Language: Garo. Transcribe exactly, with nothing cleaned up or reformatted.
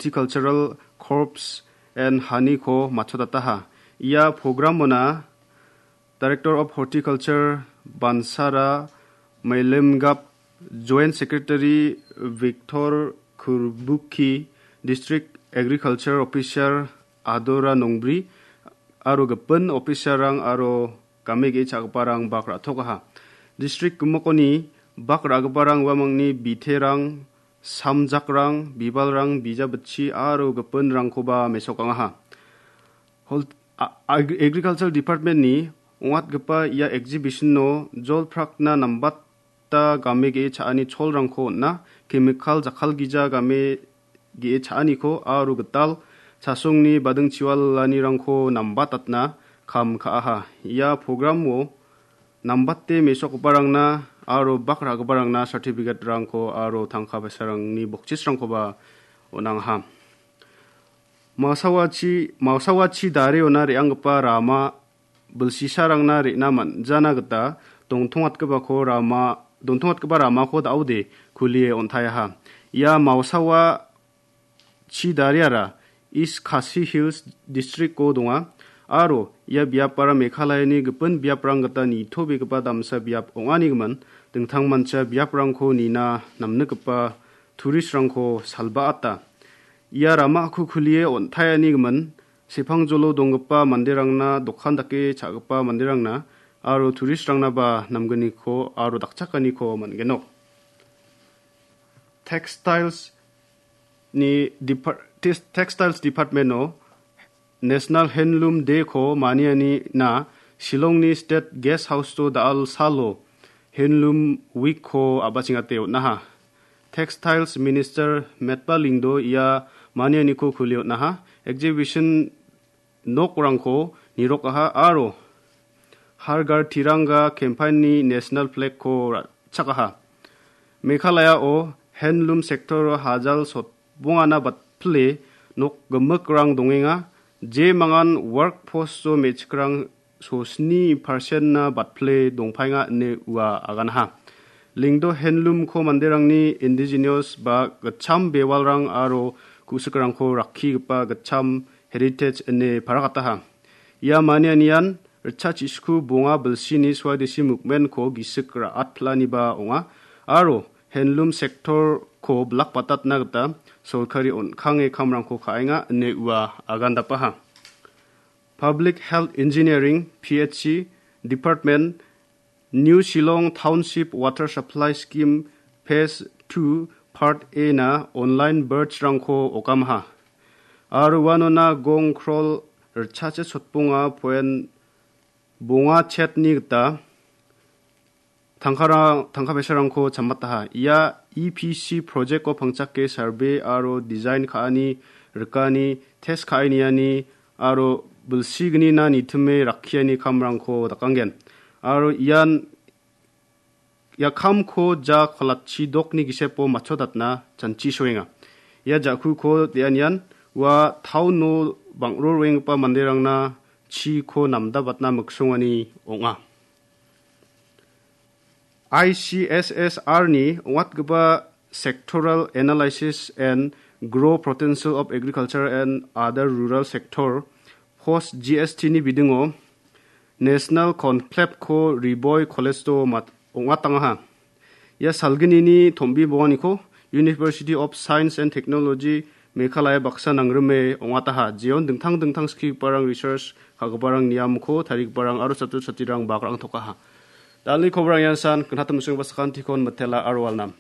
Horticultural Crops and Honey-ko matchotataha. Ia programona Director of Horticulture Bansara Mailemgap, Joint Secretary Victor Kurbuki, District Agriculture Officer Adora Nongbri, aro gipin officer-rang aro game ge·e cha·giparang bak ra·tokaha. District gimikoni bak ra·giparang uamangni biterang, samjakrang, bibalrang, bijabitchi aro gipinrangkoba mesokangaha. Hol-, a-, ag-, Agriculture Department-ni ong·atgipa ia exhibition-o jol prakna nambata game ge·e cha·ani cholrangko on·a, chemical jakkalgija game ge·e cha·aniko aro gital chasongni badingchiwalanirangko nambatatna kam ka·aha. Ia program-o nambate mesokgiparangna aro bak ra·giparangna certificate-rangko aro tangka paisarangni bokchisrangkoba on·angaha. Maosawachi, maosawachi dariona re·anggipa rama bilsisarangna re·na man·jana gita dongtongatgipako rama, dongtongatgipa ramako da·ode kulie on·taiaha. Ia maosawa chi dariara East Khasi Hills District-o donga, aro ia biapara Meghalayani gipin biaprang gita nitobegipa damsa biap ong·anigimin, dingtangmancha biaprangko nina namnikgipa tourist-rangko salbaata. Ia ramako kulie on·taianigimin, sepangjolo donggipa manderangna, dokan dake cha·gipa manderangna, aro tourist-rangnaba namgniko aro dakchakaniko man·genok. Textiles ni depar-, tes-, Textiles Department-o National Handloom Day-ko manianina Shillongni State Guest House-o da·al salo Handloom Week-ko a·bachengate on·aha. Textiles Minister Metba Lyngdoh ia manianiko kulie on·aha. Exhibition nokrangko nirokaha aro Har Ghar Tiranga campaign-ni national flag-ko ra·chakaha. Meghalaya-o handloom sector-o hajal sotbongana batpile nok gimikrang dongenga, je mangan workforce-o me·chikrang sosni percent-na batpile dongpaenga ine ua aganaha. Lyngdoh handloom-ko manderangni indigenous ba gitcham bewalrang aro ku·sikrangko rakkigipa gitcham heritage ine parakataha. Ia manianian ritchachisiku bonga bilsini Swadeshi movement-ko gisik ra·atpilaniba ong·a aro handloom sector-ko bilakbatatna gita sorkari on·kange kamrangko ka·enga ine ua agandapaha. Public Health Engineering, P H E, Department New Shillong Township Water Supply Scheme Phase two Part A-na online birds-rangko okamaha. Aro uanona gong krol ritchachit sotbonga point bonga chetni gita tangkara-, tangka paisarangko chammataha. Ia E P C project-o pangchake survey aro design ka·ani, rikani, test ka·e niani aro bilsignina nitime rakkiani kamrangko dakanggen. Aro ian ia kamko ja kolatchi dokni gisepo matchodatna chanchi soenga. Ia ja·kuko de·anian ua town-o bang·ro roenggipa manderangna chiko namdabatna miksongani ong·a. I C S S R-ni ong·atgipa Sectoral Analysis and Growth Potential of Agriculture and Other Rural Sector, post G S T-ni bidingo National Conclave-ko Ri Bhoi College-o mat-, ong·atangaha. Ia salgnini tom·bi bonganiko University of Science and Technology Meghalaya baksa nangrime ong·ataha. Jeon dingtang dingtang skigiparang, research ka·giparang, niamko tarigiparang aro chatro chatrirang bakrang tokaha. Dalni kobrang ian san, gnatam sungba sakantikon mitela aro alnam.